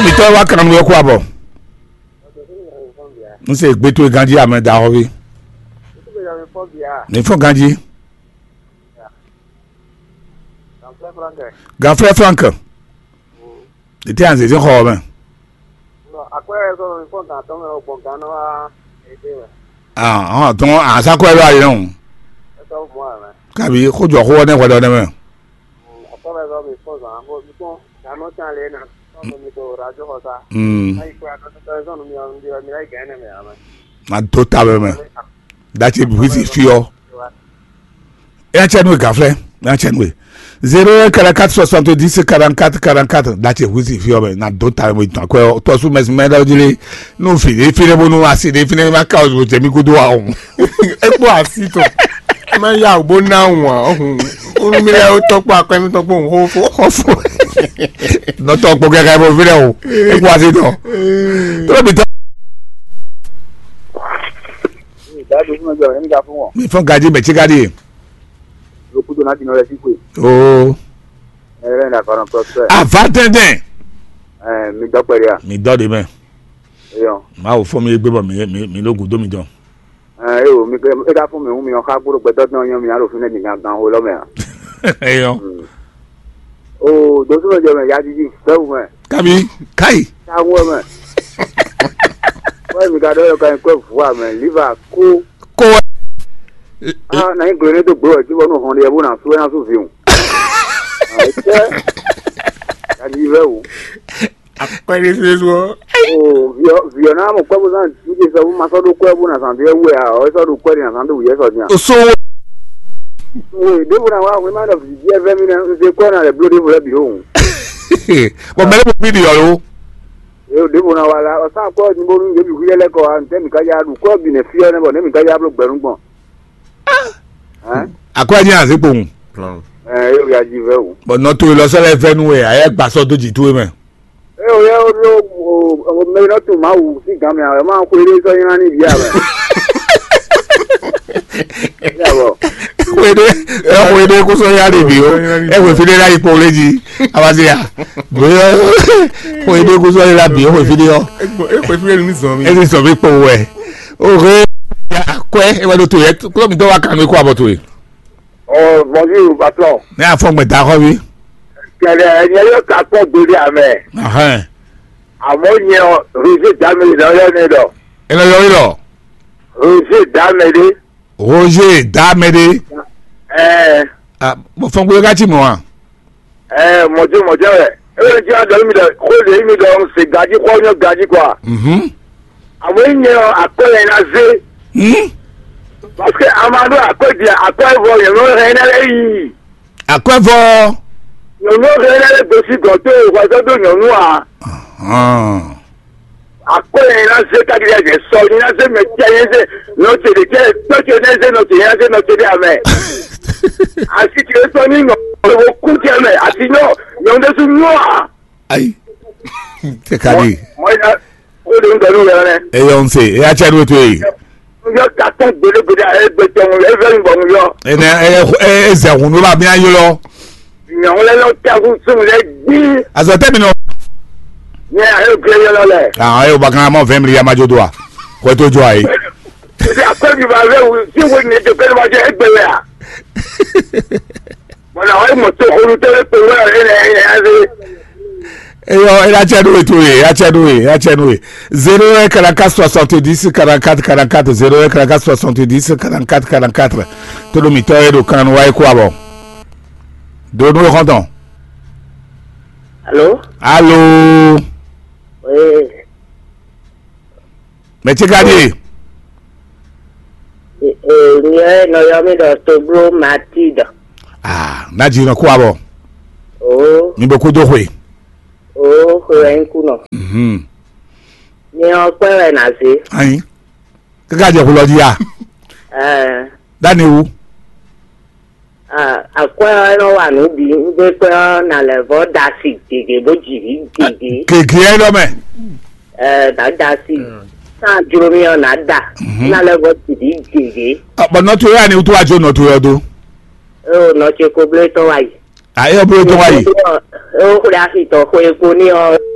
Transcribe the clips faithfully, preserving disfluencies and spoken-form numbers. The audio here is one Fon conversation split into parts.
Mitɔ wa kan nú eko abɔ. N se gbe towe ganji amɛ da xɔ vi. Ní fún ganji. Gafrɛ Frank. Ètè à ń zèzé xɔ mɛ. Ah, ah, tɔn asakɔ ɛ lɔ ayé nɔ. Kabi xojɔ xo ne hwɛdɔ ne mɛ. Mm. Ma do ta bɛ mɛ. Datse busi fiɔ. Etsɛ nue gaflɛ. Etsɛ nue. Zéro un quarante-quatre soixante-dix quarante-quatre quarante-quatre. Datse busi fiɔ mɛ. Na do ta bɛ mɛ tɔn kɔ tɔsu mɛ mɛ da jili. Nu fi de fi de bonu asi de fi de ma ka o jɛ mi kudo a o. Ekpɔ asi tɔn. Ma ya o bo na ŋu a ɔhun. Unu mi lɛ o tɔkpɔ akɔ mi tɔkpɔ ŋu xo fo xɔ fo. Nɔtɔ kpɔ kɛkɛ bɔ fi dɛ o. Ekpɔ asi tɔn. Tɔlɔ bi tɔ. Dadu fún ọjọ́ ẹni ká fún wọn. Mi fọn gaji bẹ tsi gaji. Lókùtò náà ti nọ lẹ sí pé. Oo. Ẹ rẹ nà fara pẹpẹ. Ava tẹntẹn. Ẹ mi dọ pẹlẹ a. Mi dɔ de mɛ. Eyọ. Maa wò fɔ mi gbé bɔ mi mi mi ló gùn dó mi dɔn. Ẹ eyọ mi ká fún mi hùn mi ɔ ká gbódò gbẹdọ dán yẹn mi alò fún ẹni gan gan wò lọ mẹ a. Eyọ. O dosúnmọ̀ jẹ́ mẹ́ yájíjí fẹ́wù mẹ́. Kabi kai. Táwọn mẹ́. Wọ́n mi ka dọ́ yọ ka nyí kọ́ vùwà mẹ́ líva kó. Kó wẹ́. Ah, na nyí gblǒ ní tó gbé wɛ tí wọ́n nù hɔn ɖe bó na sú ɛ na sú vǐ o. Àìsẹ́. Yájíjí fẹ́wù. Akpɛɖésúɖésú ɔ́. O viɔ viɔ na mo kpɛ bo zan tu je sɔ ma sɔ ɖo kɔ bo na zan de wɛ a ɔ sɔ ɖo kɔ de na zan de wuyɛ sɔ dian. Oso. Wo de bo na wa we ma dɔ vi je vɛ mi na se kɔ na le blo de bo le bi o. Bɔn mɛ ne mo bi di ɔ lo. E de bo na wa la ɔ sa kɔ ni bo nu je bi hu yɛ lɛ kɔ a ntɛ mi ka ya du kɔ bi ne fiɔ ne bɔ ne mi ka ya blo gbɛnu gbɔn. Hein? Akɔ ni a se kpowun. Ɛ e ya ji vɛ o. Bɔn nɔ to lɔ sɔ lɛ vɛ nu wɛ a yɛ gba sɔ do ji to mɛ. E o yɛ o lo o o mɛ nɔ to ma wu si gan mi a ma ko ere sɔ yina ni bi a mɛ. Ya bɔ. Xwede ɛ xwede kó sɔ ya de bi o ɛ xwe fi de la yi kpɔn lé ji a ma se ya. Boyɔ xwede kó sɔ yi la bi o xwe fi de yɔ. Ekpɔ ekpɔ fi de nu zɔn mi. Ɛ ti sɔ mi kpɔn wɛ. O he ya akwɛ ɛ wɛ do to yɛ kúlọ̀ mi dɔ wa kan mi kó abɔ to ye. Oh, bonjour, patron. Ne a fɔ gbɛ da xɔ bi. Kɛlɛ nyɛ yɔ ka kpɔ gbede amɛ. Ahɛn. Àmọ́ nyɛ ɔ Roger Dameli náà yọ ní dɔ. Ẹ lọ yọrí lọ. Roger Dameli. Roger Dameli. Ẹ. Ah, mo fɔ gbé ká ti mọ̀ wá. Ɛ mɔjɛ mɔjɛ wɛ. Ewé ní tí a dɔ mí dɔ xó lè mí dɔ ń se gají xɔ nyɔ gají kɔ. Mhm. Àmọ́ yín nyɛ akɔ yẹn ná zé. Hmm. Parce que a máa dún akɔ di akɔ ẹ̀fọ́ yẹn ló hẹ́ náà lẹ́yìn. Akɔ ẹ̀fọ́. Nyɔnu hẹ́ náà lè gbèsè gàn tó ìwà sọ́dọ̀ nyɔnu à. Hàn. Akɔ yẹn ná zé kájí yẹn sọ ní ná zé mɛ tí a yẹn zé nɔ tse ɖe tse tɔ tse ne zé nɔ tse yẹn zé nɔ tse ɖe amɛ. Asi tse sɔ ní nɔ ewo kú tse mɛ asi nyɔ nyɔ ɖe su nyɔ a. Ayi. Tɛ ka di. Mɔ ya o de ŋdɔ nu yɛrɛ nɛ. Eyɔ n se eya tse ɖo to ye. Yɔ ka tɔn gbeɖegbeɖe a ye gbe tɔn e fɛ ŋgbɔ nu yɔ. Ene e e e zɛ hun ló ba mi ayi lɔ. Nyɔnu lɛ lɔ tɛkun sun lɛ gbi. Azɔ tɛ mi nɔ. Nyɛ a ye gbe yɔ lɔ lɛ. Ah, e o ba kan mɔ vingt milliards ma jo do a. Ko to jo ayi. Ti a ko bi ba ve wu si wo ne to ke ma je egbe lɛ a. Bɔn na wa mɔ to holu tɛ pe wɛ e lɛ e lɛ a ve. Eyɔ, e la tse ɖo eto ye, e la tse ɖo ye, e la tse ɖo ye. Zéro un quarante-quatre soixante-dix quarante-quatre quarante-quatre, zéro un quarante-quatre soixante-dix quarante-quatre quarante-quatre. Todo mi tɔ e ɖo kan wa e ko abɔ. Do nu xɔntɔn. Alo. Alo. Ee. Mɛ tse ka ɖie? Ee, nyɛ nɔ yɔ mi ɖɔ Togbló Matilde. Ah, na dzi nɔ kó abɔ. Oo. Mi bo kú dó xwe. Oo, xwe wɛ ń kú nɔ. Mhm. Mi ɔ kpɛ wɛ na zé. Ayin. Kaka jɛ xulɔ di ya. Ɛɛ. Dani wu. Ah, akwɛ ɔ́ nɔ wa nǔ bǐ, un ɖe kwɛ́ ɔ́, nǎ lɛ́ vɔ́ da asi gěgé bó jǐ vǐ gěgé. Gěgé ɛ ɖɔ mɛ. Ɛɛ, nǎ da asi. Sán jló mì ɔ́, nǎ da. Mhm. Nǎ lɛ́ vɔ́ jǐ vǐ gěgé. Bɔ nɔ towe ani wútu wá jó nɔ towe ɔ́ dó. Eo nɔ ce ko blé tɔn wá yi. A é ɔ́ blé tɔn wá yi. Eo xwlé axi tɔn xwe kpo ní ɔ́.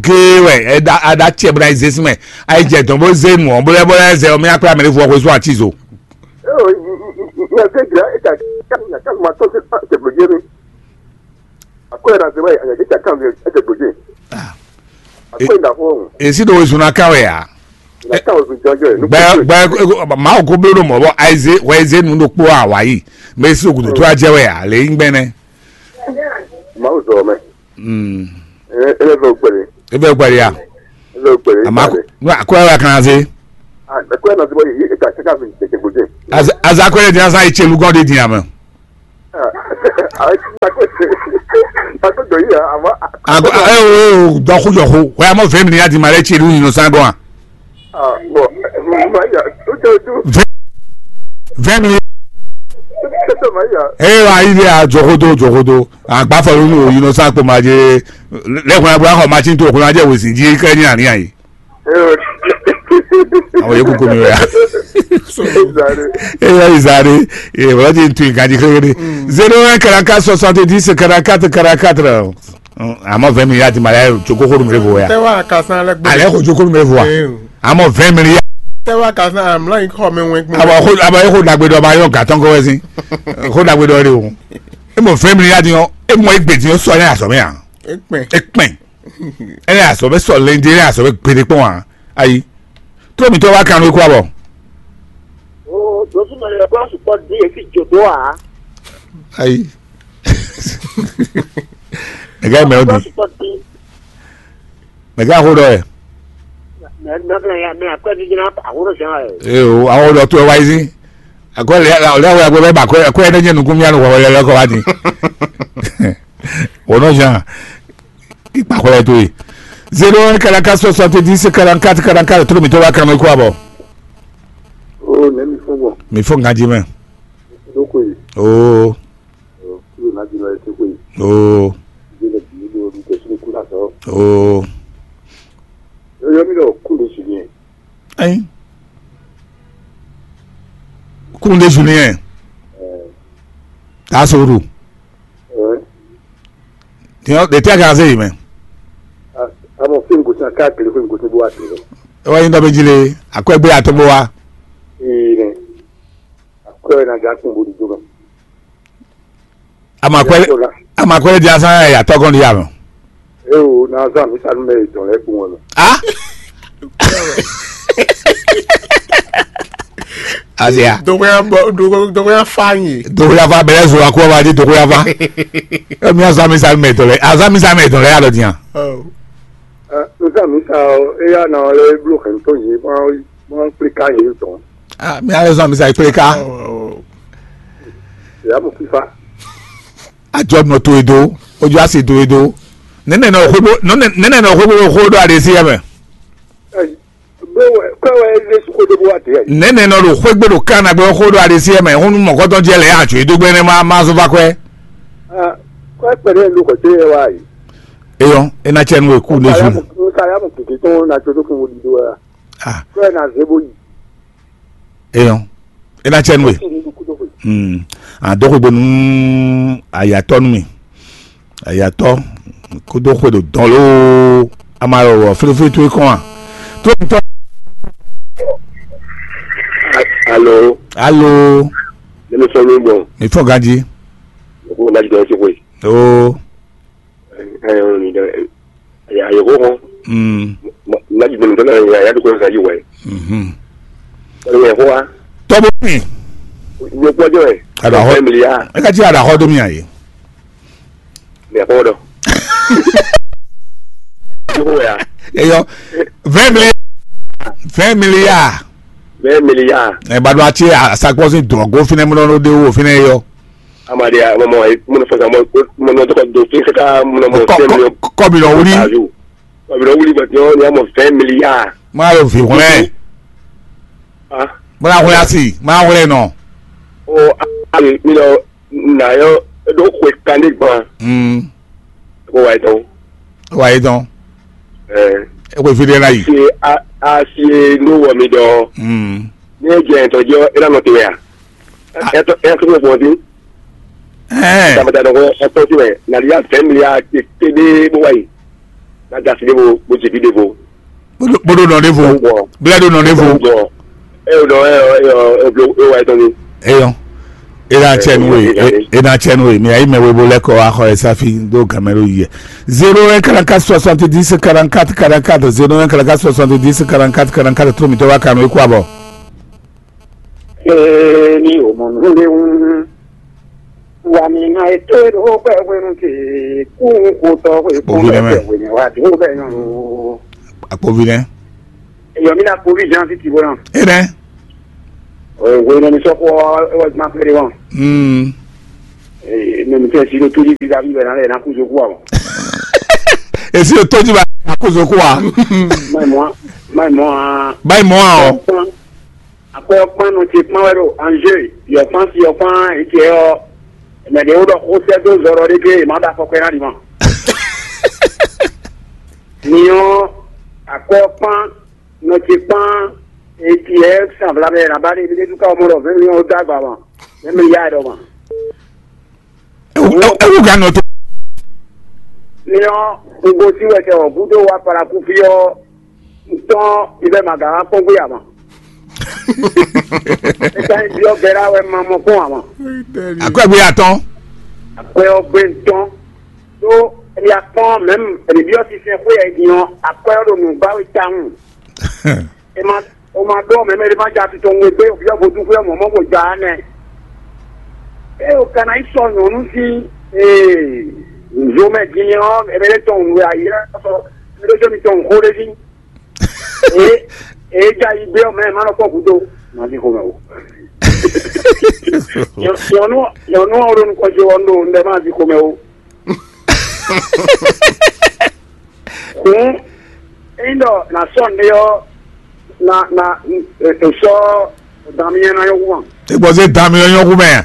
géé wɛ, aɖa cɛ bó ná yi zé sín mɛ, ayi jɛ dɔn bó zé nu ɔ́, bó lɛ́ bó lɛ́ zɛ ɔ́, mɛ akpé amɛ ɖé fɔ xwésú atizɔ. Eo, nya zé gira e ta ka nya ka ma tɔn se pa te blo jeri. Akɔ era ze wai anya ke ta kan ze e te blo jeri. Akɔ ina ho. Esi ɖo wezun ná ká wɛ a? Na kan wezun jɔjɔ e. Gbɛ gbɛ Mawu ko bló ɖo mɔ̌ bɔ ayize wɛ yize nu ɖokpó a wǎ yi. Mɛ esi ogudu tó a jɛ wɛ a lě nyí gbɛnɛ. Mawu zɔ mɛ. Mm. Ele vɛ gbɛlɛ. Ebe gbɛlɛ ya. Ele vɛ gbɛlɛ. Ama ko no akɔ ya kan se. Ah, akɔ na se bɔ yi e ka se ka fi te te gode. Aza akɔ ya dia sa ichelu gɔn de dia mɛ. Ah, akɔ akɔ do yi ama. Ago e o dɔ ko jɔ ko. Wa mo vingt milliards di ma le chelu ni no sa gɔn. Ah, bon, ma ya, tout tout. Vingt milliards. Tout ma ya. E wa yi de a jɔ ko do jɔ ko do. Agbafɔlunu o yinɔ sa kpɔmɔ adze lɛkun ya bɔ axɔ matsin to okun adze wezin dzi kɛ nyi ani ayi. Awɔ ye kuku mi wɛ ya. Eza ɖe. Eya yi zã ɖe. Ee, wòlɔ ti tu ganji xéxé ɖe. Zéro un quarante-quatre soixante-dix quarante-quatre quarante-quatre. Àmọ́ vingt milliards ti ma lɛ joko xó numero vo ya. Tɛ wa ka san lɛ gbɛ. Alɛ xo joko numero vo wa. Ee. Àmọ́ vingt milliards. Tɛ wa ka san amla yi xɔ mɛ wɛn gbɛ. Aba xo aba xo dagbe dɔ ba yɔ gatɔn kɔ wɛ si. Xo dagbe dɔ de o. E mɔ vingt milliards yɔ. E mɔ egbe di yɔ sɔ ne azɔ mɛ ya. Ekpɛn. Ekpɛn. Ɛ yà sɔ bɛ sɔ lɛnde, ɛ yà sɔ bɛ gbeɖe kpɔn a? Ayi. Tló mǐtɔn wá kan nú é kú abɔ. O dosúmɔ yɛ kó sukpɔ dín etí jòdó a? Ayi. Mɛgá yi mɛ o di. Sukpɔ dín. Mɛgá xó dɔ yɛ. Mɛ mɛ mɛ ya mɛ akwɛ dídí ná àwòrán sɛn ɛ. Ee o, àwọn ọ̀dọ́ tó ẹ wáyé sí. Akwɛ lɛ lɛ wɛ akwɛ bɛ ba akwɛ akwɛ ne nye nukun mia nukun wɛ lɛ kɔ wá di. Wònɔ zan. Ikpa xwlɛ to ye. Zéro un quarante-quatre soixante-dix quarante-quatre quarante-quatre, tló mǐtɔn wá kan mɛ kú abɔ. O nɛ mi fún bɔ. Mi fún ganji mɛ. Dókò yìí. Oo. Kúrò náà jìnnà ètò pé. Oo. Ìdílé bìí ló ń tẹ̀sí ní kúrò àtọ́. Oo. Yóò yọ mí lọ kúrò sí yẹn. Ayi. Kunde Julien. Taa soro. Tiɲɛ de tɛ ka se yi mɛ. Amɔ fɛn gosi a ká kele fɛn gosi bó wa tè lɔ. Ewa yin dɔ bɛ jile akwɛ gbe atɔ bó wa. Ee nɛ. Akwɛ na ja kun bo di do mɛ. Ama akwɛ ama akwɛ di asan ya tɔgɔn di ya mɛ. Ee o na zan mi sanu mɛ dɔn lɛ kun wɛ mɛ. Ah. Azia. Dogoya bɔ dogo dogoya fa nyi. Dogoya fa bɛlɛ zo akɔ ba di dogoya fa. E mi azan mi sa mɛ tɔ lɛ azan mi sa mɛ tɔ lɛ ya dɔ diyan. Oh. Ɛ, nsa mi sa ɔ eya na ɔ lɛ blo hɛn tɔn yi ma ma kple ka yi tɔn. Ah, mi ale zan mi sa kple ka. Oh. Ya mo fifa. Ajɔ nɔ to edo, ojú asi to edo. Nene nɔ xwebo nene nɔ xwebo xo do adesi ya mɛ. Ɛ, Bó wɛ kɔ́ wɛ é lé sukó dó bó wá dé ɛ. Nɛ̌ nɔ ɖo xwé gbe ɖo Kana gbɛ xó ɖo Alisiɛ mɛ hún mɔ̌kɔtɔn jɛ lɛ̌ ajo e dó gbɛ́ nɛ́ má má zɔ́n vá kwɛ́. Kɔ́ kpɛɖé ló kɔ̀tí ɛ wá yìí. Eyɔn, e ná cɛ nú e kú ne zu. Nsa ya mɔ kìkì tɔn na tso tó fún wo ɖiɖó ɛ. Ah. Kɔ́ ɛ na zé bó yi. Eyɔn, e ná cɛ nú e. Kìkì ní kú tó fún. Hmm. Àdókògbónú àyàtọ́ nú mi. Ayatɔ kódó xwe ɖo dɔn loo, ama ɖɔ wɔ flifli towe kɔn a. Tó tɔ. Alo. Alo. Ne mi sɔn mi bɔ. Mi fɔ ganji. Ko na jidɔn si koyi. Oo. Ayo ni dɛ. Ayo ko ko. Mm. Na jidɔn dɔn na ya ya ko sa yi wɛ. Mhm. Ko ye ko wa. Tɔbo mi. Yo ko jɔ. Ada ho. Milliard. E ka ti ada ho do mi ayi. Mɛ kpɔn dɔ. Yóò ya. Eyɔ, vingt milliards. Vingt milliards. Vingt milliards. Ɛ ba do ati asakpɔsi dɔgɔ finɛ mɔ nɔ de wo finɛ yɔ. Amadi a mɔ mɔ mɔ fɔ sa mɔ mɔ nɔ tɔgɔ do fi kaka mɔ mɔ fɛn mi. Kɔbi lɔ wuli. Kɔbi lɔ wuli bɔ tiɲɛ ni a mɔ vingt milliards. Ma yɔ vi wlɛ. Ah. Bɔla wlɛ asi, ma wlɛ nɔ. O a mi lɔ. Na yɔ ɖo xwe kan ɖé gban. Mm. Ko wa etɔn. Wa etɔn. Ɛɛ. E ko fi ɖe la yi. Si a a si e ɖo wɔ mi dɔ. Mm. Ne jɛ etɔn jɔ e na nɔ te ya. Etɔn etɔn ko bɔ di. Ɛɛ. Tamata dɔn ko etɔn ti mɛ na ya vingt milliards te te ɖe bo wa yi. Na gasi ɖe bo bo jebi ɖe bo. Bó ɖó nɔ ɖěvo. Bílẹ̀ ɖó nɔ ɖěvo. Ẹ ò dɔn ẹ ɔ ẹ ɔ ẹ blo ẹ wa ẹ tɔn ni. Eyɔn. Ena tsɛ nu e ena tsɛ nu e mi ayi mɛ webo lɛ kɔ axɔ ɛ safi do gamɛ ɖo yi. Zéro un quarante-quatre soixante-dix quarante-quatre quarante-quatre, zéro un quarante-quatre soixante-dix quarante-quatre quarante-quatre, tó mi tɔ wa kanu e kú abɔ. Ee, ní o mɔ nú lé wún. Wà mí ná ètò ìdókòwò pẹ̀ wẹ́nu tè kú kó tọ́ pé kó Òbí rẹ mẹ́. Pẹ̀ wẹ́nu wà dúró bẹ́ẹ̀ yàn ló. Àpòbí rẹ. Èyàn mi ná kó bí Jean Fiti bọ́lá. Ẹ rẹ. Òwe ní sọ fún ọ ẹ wọ́n ti máa fẹ́rẹ̀ wọn. Mm. Ẹ mi tẹ̀ sí ló tó ní bíbá bíbá náà lẹ̀ náà kú sókú àwọn. Èsì ò tójú bá àkóso kó wa. Báyìí mọ́ báyìí mọ́ a. Báyìí mọ́ a ọ. Akpɔ kpan nɔ tsi kpan wɛ ɖo anjeu yɔ kpan si yɔ kpan eke yɔ mɛ ɖe wo ɖɔ xo sɛ do zɔ ɖɔ ɖe ke ma da fɔkpɛ na ɖi ma. Ni ɔ akpɔ kpan nɔ tsi kpan Eti ɛ sanvla mɛ na ba de bi de duka mɔ dɔ vɛn mi o dagba ma. Vɛn mi ya dɔ ma. Ewu ewu ga nɔ to. Ni ɔ, un go si wɛ kɛ ɔ gudo wa para ku fi ɔ, un tɔn i bɛ ma ga wa kpɔn gbe ama. E ka nyi biɔ gɛra wɛ ma mɔ kpɔn ama. Akwɛgbe atɔn. Akwɛ ɔ gbe un tɔn. To e ya kpɔn mɛm e ni biɔ si sɛn xwe yɛ din ɔ, akwɛ ɔ ɖo nu ba we tawun. E ma o ma ɖɔ mɛ mɛ ɖé ma ja titɔ ŋwe gbé obyɔ vodúnxwé ɔmɔ mɔ ko ja nɛ. Eye o kana yi sɔ nyɔnu sín ee nzo mɛ din ɔ, eme ɖé tɔn nwe ayi lɛ sɔ eme ɖé tɔn mi tɔn nxó ɖé dín. Ee ee ja yi gbé ɔmɛ ma nɔ kpɔ gúdo. Ma di xomɛ o. Nyɔnu nyɔnu ɔ ɖo nukɔn jo ɔ ɖo ndɛ ma di xomɛ o. Hǔn, ényí ɖɔ nǎ sɔ́ nǔɖé ɔ́, na na è sɔ́ dan myɛ ná nyɔ́ hú ma. Egbɔ zé dan myɛ nyɔ́ hú mɛ.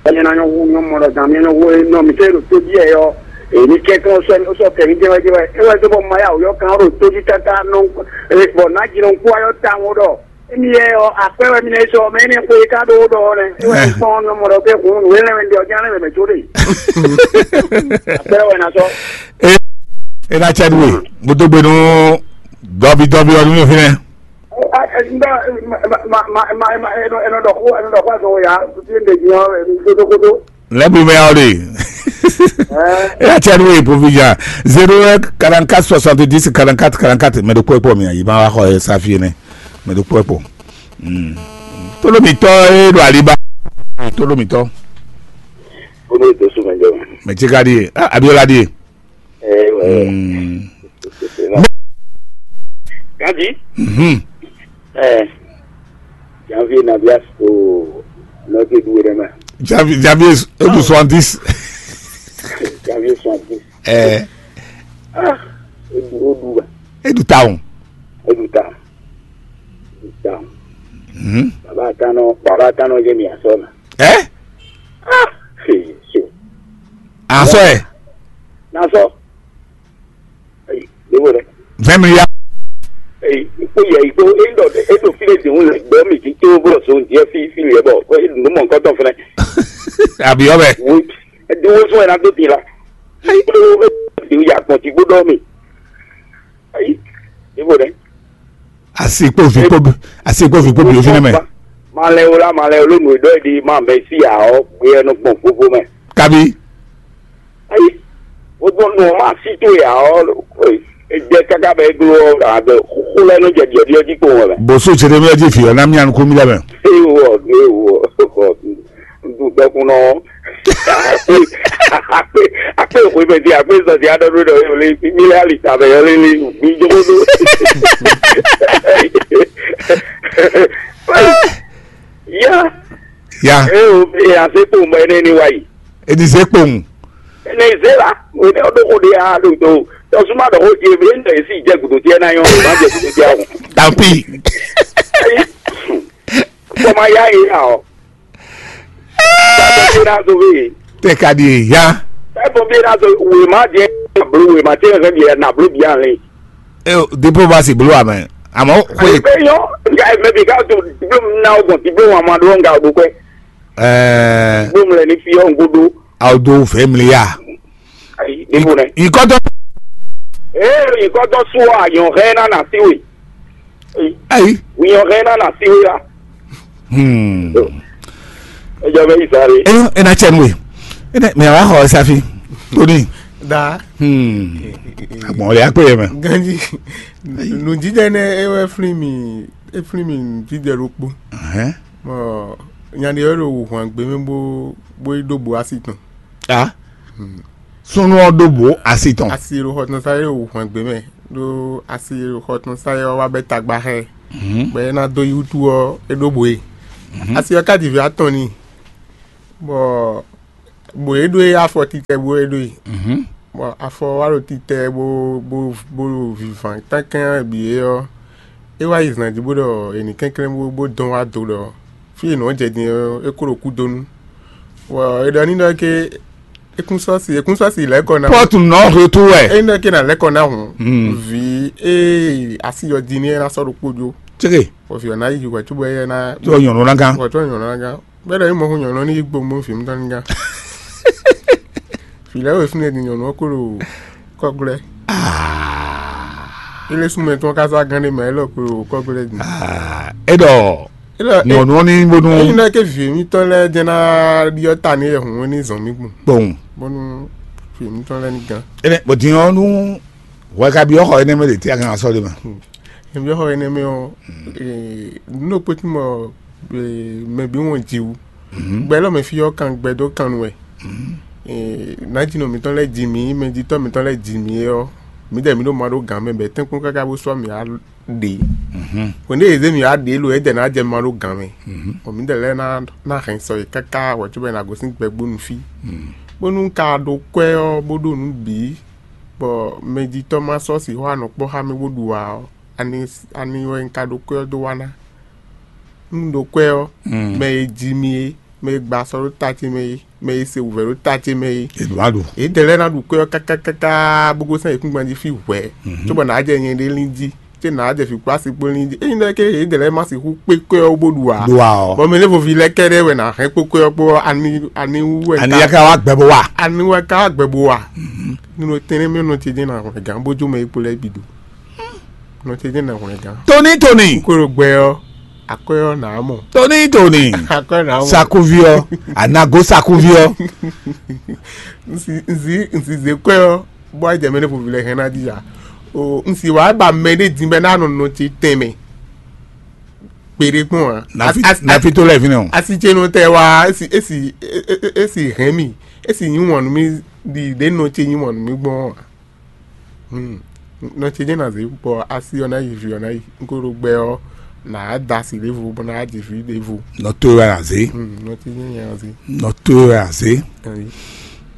Dan myɛ ná nyɔ́ hú nyɔ́ mɔ ɖɔ dan myɛ nyɔ́ hú e nɔ mǐ tɛ́ ɖo tójí ɛ ɔ́, èmi kɛ́kɛ́n ó sɔ́ ó sɔ́ kɛmí jɛ́wɛ́jɛ́wɛ́ é wɛ dó bɔ ma yá wǔyɔ́ kan ɖo tójí káká nɔ bɔ nǎ jǐnɔkú ayɔ́ tawun ɖɔ. Émi yɛ ɔ́, akwɛ́ wɛ mi ná yi sɔ, mɛ énɛ́ xwe e ka ɖó ɖɔ ɔ́ nɛ́. É wɛ un kpɔ́n nɔ mɔ ɖɔ pé hun nǔ e lɛ́ wɛ un ɖe ɔ́, ján lɛ́ wɛ mɛ jó ɖe. Akwɛ́ wɛ ná sɔ. E e na cɛ nú we, mo dó gbe nú dɔbi dɔbi ɔ́ nú mi fínɛ́. Ɛnɔ ɖɔ xó ɛnɔ ɖɔ xó azɔn ya, tutu e ɖe din ɔ́, ɖo kótókótó. Lɛ́ bí mɛ ɔ́ ɖe. E na cɛ nú we, Provision. Zéro un quarante-quatre soixante-dix quarante-quatre quarante-quatre, mɛ ɖokpó e kpɔ mi ayi ma wá xɔ e sa fí nɛ. Mɛ ɖokpó e kpɔ. Tolomitɔ e ɖo aliba. Tolomitɔ. Kódó ètò sùn mɛ jẹ mɛ. Mɛ tí ka ɖi e? Ah, Abiola ɖi e. Ɛ wɛ. Gadi. Mhm. Ɛ. Janvier na bia o nɔte du ɖe mɛ. Janvier, janvier ebu soixante-dix. Janvier soixante-dix. Ɛ. Ah, edu o du ba. Edu tawun. Edu tawun. Edu tawun. Mhm. Baba tanɔ, baba tanɔ jɛ mi asɔ na. Ɛ? Ah, se se. Asɔ ɛ. Na sɔ. Ayi, ɖevo ɖe. Vingt milliards. Eyi, kpo yɛ yi kpo e ɖɔ e ɖo fi ɖe dihun le gbɔ mi ti to bɔ so diɛ fi fi liɛ bɔ e nu mɔ nkɔtɔ fɛnɛ. Abi ɔbɛ. Wo e di wo sɔn yɛ na do di la. Ayi, kpo e di ya gbɔn ti gbó dɔ mi. Ayi, ɖevo ɖe. Asi kpo vi kpo bi, asi kpo vi kpo bi o fi nɛ mɛ. Malɛ wo la, malɛ wo ló nu e ɖɔ e di ma mɛ si ya ɔ, gbé ɛnɔ gbɔn gbogbo mɛ. Kabi. Ayi, wodun nɔ ma si to ya ɔ, e jɛ kaka bɛ glo ɔ, abe xo lɛ nɔ jɛ diɛ diɛ di ko wɛ. Boso Jeremia ji fi ɔ na mi anu ko mi lɛ mɛ. Ewo, ewo, du dɔkun nɔ. Akpe, akpe xwe mɛ di, akpe sɔ di adɔ do dɔ yɔ le, mi lɛ ali ta bɛ yɔ le le, mi jogo do. Ya. Ya. Ewo, e ase kpo mɔ ene ni wa yi. Edi ze kpowun. Ene ze la, o ne o ɖo xo ɖe a ɖo do. Tɔsuma ɖɔ xo je be ne esi jɛ gudo jɛ na yɔ, ma jɛ gudo jɛ o. Tampi. Kɔma ya ye ya o. Tɛ ka di ye ya. Tɛ bɔ bi na so we ma jɛ na blo we ma tɛ hɛn bi na blo bi a le. E o diplomasi blo amɛ. Amɔ ko ye. Pe yɔ, nga mɛ bi ka to diploma na o gbɔn diploma ma ɖo nga o ɖo kwɛ. Ɛɛ. Gbɔmlɛ ni fi ɔ ŋgodo. Awo do fɛ mli ya. Ayi, ibo nɛ. Ikɔtɔ. Ee, ikɔtɔ suwa yɔn hɛ na na si we. Ayi. Wi yɔn hɛ na na si we ya. Hmm. Ejɔ bɛ yi sáré. Eyo, ena cɛ nue. Ena mɛ wa xɔ safi. Tony. Da. Hmm. Agbɔn le akpɛ yɛ mɛ. Ganji. Nujijɛ nɛ ewɛ fli mi, efli mi nujijɛ ɖokpo. Ɛhɛn. Bɔ nya ɖe wɛ ɖo wǔhwan gbé mɛ bó bó yi ɖó bo asi tɔn. A súnnu ɔ́ ɖó bǒ asi tɔn. Asi e ɖo xɔ tɔn sa é ɖo wǔhwan gbé mɛ, ɖó asi e ɖo xɔ tɔn sa é ɔ́ wá bɛ́ tagba xá ɛ. Bɔ é ná dó yi wútu ɔ́, é ɖó bǒ e. Asi ɔ́ ka ji vǐ atɔn n'i, bɔ bǒ e ɖó e afɔ titɛ bó e ɖó e. Bɔ afɔ wá ɖo titɛ bó bó bó ɖo vǐván tánkɛn bǐ é ɔ́, é wá yi zan jí bó ɖɔ è nǐ kɛnklɛ́n bó bó dɔn wá do ɖɔ fí e nǔ ɔ́ jɛ din ɔ́, é kó ɖo kúdonu. Bɔ è ɖɔ n'i ɖɔ ké é kún sɔ́ si é kún sɔ́ si lɛ̌ kɔ ná. Pɔ́tu nɔ hwetu wɛ. É nɔ ké ná lɛ̌ kɔ ná hǔn. Vǐ e asi ɔ́ din ní é ná sɔ́ ɖokpó jó. Céke. Bɔ vǐ ɔ́ ná yi hwɛ̌ cóbɔ éyɛ́ ná. Tó nyɔ̌nu ná gán. Wɔ tó nyɔ̌nu ná gán. Bɛ́ ɖɔ nyí mɔ̌ hú nyɔ̌nu ɔ́ ní yi gbo mɔ vǐ mitɔn ní gán. Vǐ lɛ́ɛ wɛ fínɛ́ din nyɔ̌nu ɔ́ kó ɖo kɔ́glɛ́. Ilé súnmɔ tɔn ká zá gán ɖé mɛ élɔ́ kó ɖo kɔ́glɛ́ din. É ɖɔ Élɔ́ nyɔ̌nu ɔ́ ní bónú. Ényí ná ké vǐ mitɔn lɛ́ɛ jɛ́n ná ɖyɔ́ ta ní yɛ hǔn ní zɔn mì gbɔn. Kpɔn. Bónú vǐ mitɔn lɛ́ɛ ní gán. Énɛ́ bɔ din ɔ́ nú hwɛ ka byɔ́ xɔ énɛ́ mɛ ɖe tɛ́ a kan sɔ́ ɖe mɛ. Nǔbyɔ́ xɔ énɛ́ mɛ ɔ́, nǔ ɖokpó tí mɔ mɛ bǐ wɔn ji wú. Gbɛ lɔ́ mɛ fí ɔ́ kan gbɛ dó kan nu wɛ. Nǎjínɔ mǐtɔn lɛ́ɛ ji mǐ, mɛjitɔ́ mǐtɔn lɛ́ɛ ji mǐ é ɔ́, mǐdɛɛ mǐ ɖo ma ɖó gǎn mɛ bɔ é tɛ́nkpɔ́n káká bó sɔ́ mǐ á ɖě. Hwɛ̌n ɖé yě zé mǐ á ɖě lo, édɛɛ ná jɛ ma ɖó gǎn mɛ. Bɔ mǐdɛɛ lɛ́ɛ ná ná hɛn sɔ yě káká hwɛ̌ cóbɔ è nǎ gosín gbɛgbónu fí. Bónú un ka ɖó kwɛ́ ɔ́ bó ɖo nǔ bǐ, bɔ mɛjitɔ́ ma sɔ́ sixú anɔ̌ kpɔ́ xá mì bó ɖu ǎ ɔ́, ani ani wɛ un ka ɖó kwɛ́ ɔ́ dó wa ná? Nú un ɖó kwɛ́ ɔ́, mɛ e ji mì é, mɛ e gba sɔ ɖó ta ce mɛ é, mɛ e se wǔvɛ́ ɖó ta ce mɛ é, Edwadu. Yědɛɛ lɛ́ɛ ná ɖu kwɛ́ ɔ́ káká káká bó gosín ayǐkúngban jí fí hwɛ̌, cóbɔ nǎ jɛ nyɛ ɖé lín jí, cé nǎ jɛ vǐ kpó asi kpó lín jí. Ényí ɖɔ ké yědɛɛ lɛ́ɛ ma sixú kpé kwɛ́ ɔ́ bó ɖu ǎ. Ɖu ǎ ɔ́. Bɔ mɛ ɖěvo ví lɛ́ɛ kɛ́ɖɛ́ wɛ nǎ hɛn kpó kwɛ́ ɔ́ kpó ɔ́, ani ani wú wɛ Ani ka- ya ka wá gbɛ bó wa. Ani wɛ ka wá gbɛ bó wa. Nínú tɛnɛ́ mɛ nɔ ce jẹ́ nà hwlɛ́n gán bó jó mɛ e kpo lɛ́ɛ bǐ do. Nɔ ce jẹ́ nà hwlɛ́n gán. Tóní tóní. Kúrò gbɛ ɔ́, akɔ́ ɔ́ nà á mɔ. Tóní tóní. Akɔ́ ɔ́ nà á mɔ. Sakuvi ɔ́, anago sakuvi ɔ́. Nsi nsi nsi zè kɔ́ ɔ́, bó wá jɛ mɛ ɖé ƒovi lɛ hɛn ná dija. O nsi wá ba mɛ ɖé din bɛ ná nɔ nɔ ce tɛnmɛ. Kpeɖé kpɔn a. Nafi As- as- nafi tó lɛ fi nɛ o. Asi ce nɔ tɛ wá esi esi e- e- e- esi hɛn mi esi nyi wɔn nú mi ɖi ɖe nɔ ce nyi wɔn nú mi gbɔn a. Hmm. Nɔ ce jẹ́ nà zé bɔ asi ɔ́ ná yi, vǐ ɔ́ ná yi. N ko ɖo gbɛ ɔ́, nǎ da asi ɖěvo bɔ ná ji vǐ ɖěvo. Nɔ towe wɛ azé. Hmm. Nɔ ce jẹ́ nya zé. Nɔ towe wɛ azé. Ayi.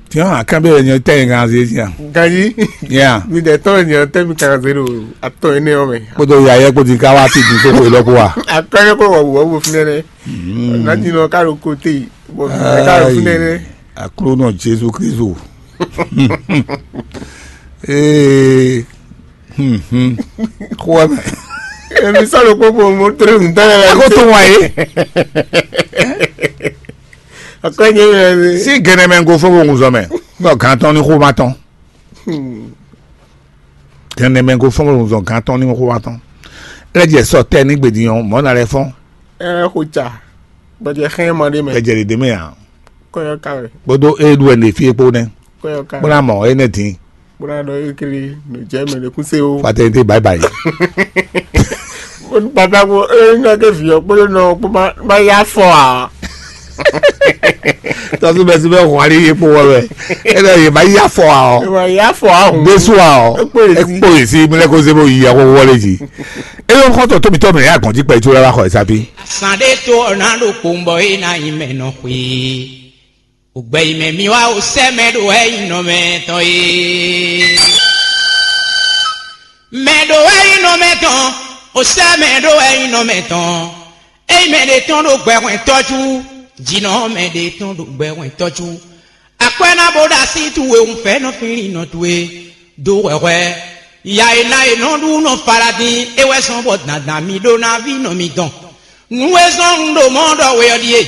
Tiens, akán bɛ nyɔ tɛ nya zé tiens. Ganyi. Yeah. Mi ɖe tɔn nyɔ tɛ mi kan zé ɖo atɔ énɛ́ ɔ́ mɛ. Kpódó yayɛ kpódó ka wá ti dun tó ko lɔ kó wa. Akɔ́yɛ kó wɔ wɔ wo fúnɛ nɛ. Nati nɔ ká ɖo kote yi. Bɔ mi ká ɖo fúnɛ nɛ. Aklúnɔ Jezu Kristu. Ee. Xó wɛ mɛ. Èmi sɔ́ ɖo kpókpó mo tlé mi tán lɛ. Ẹ kó tó wá yé. Akɔ́nyɛ mi lɛ. Sí gɛnɛ mɛ go fó bo ŋun zɔ mɛ. Bɔ gantɔn ní xó ma tɔn. Gɛnɛ mɛ go fó bo ŋun zɔ gantɔn ní xó ma tɔn. Lɛ jɛ sɔ tɛ ní gbedi yɔn mɔ na lɛ fɔn. Ɛ xo tsa. Gbɛjɛ xɛn ma ɖe mɛ. Gbɛjɛ ɖe ɖe mɛ ya. Kɔyɔ ka wɛ. Kpódó e ɖu ɛnɛ fie kpó nɛ. Kɔyɔ ka. Kpódó amɔ e nɛ dín. Kpódó anɔ ekele nɔ jɛ mɛ ɖe kún se o. Fatɛ te bye bye. Baba ko e nɔ ke fi ɔ kpódó nɔ kpó ma ma ya fɔ a. Tɔsí bɛ sí bɛ hɔn ali yé kpó wɔ wɛ. E nɔ yé ma ya fɔ a ɔ. Ma ya fɔ a hùn. Desu a ɔ. Ekpó yé sí. Ekpó yé sí mi lɛ kó se bó yi akó wọlé jí. Eye xɔtɔ tóbi tɔ mɛ ya gɔn jí kpɛ tso la xɔ ɛsa bí. Sàn ɖé tó ɔ̀nà ɖo kpòǹbɔ é ná nyí mɛ nɔ xwe. Ògbɛ yi mɛ mi wá o sɛ mɛ ɖo wɛ yi nɔ mɛ tɔn é. Mɛ ɖo wɛ yi nɔ mɛ tɔn, o sɛ mɛ ɖo wɛ yi nɔ mɛ tɔn. Eyi mɛ ɖe tɔn ɖo gbɛ hwɛn tɔjú, jǐnɔ mɛ ɖe tɔn ɖo gbɛ hwɛn tɔjú. Akwɛ́ ná bó ɖo así towe wunfɛ́nɔ fínlínnɔ towe dó hwɛhwɛ. Ya e ná e nɔ ɖu nɔ Faladin é wɛ zɔn bɔ dandan mi ɖó ná ví nɔ mi dɔn. Nǔ e zɔn un ɖo mɔ̌ ɖɔ we ɔ́ ɖíe: